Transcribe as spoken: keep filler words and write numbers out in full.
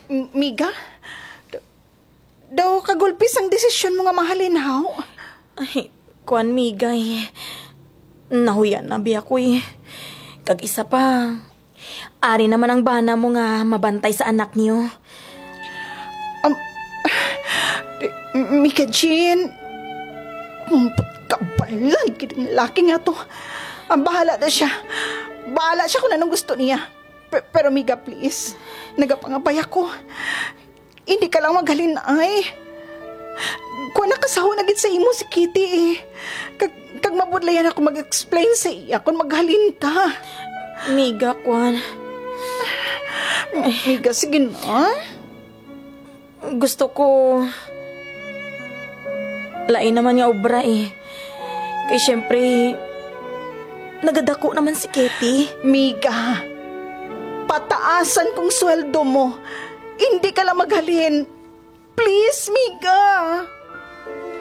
M- Miga? D- Daw kagulpi sang desisyon mo nga mahalin, haw? Ay, kuwan, Migay. Nahuyan na biya ko eh. Kag isa pa, ari naman ang bana mo nga mabantay sa anak niyo. Um, Mika Jean, kabalan gid ang laki nga to. Ang bahala na siya. Bahala siya kung anong gusto niya. Pe- pero Miga, please, nagapangabay ako. Hindi ka lang maghalin ay. Kuan, nakasaho na gid sa imo si Kitty eh. Kag, kag mabudlayan ako mag-explain sa iya kung maghalin ka. Miga, kuan. Miga, sige na. Gusto ko lain naman nga obra eh. Kay syempre, nagadako naman si Kitty. Miga, pataasan kong sweldo mo. Hindi ka lang maghalin. Please, Miga.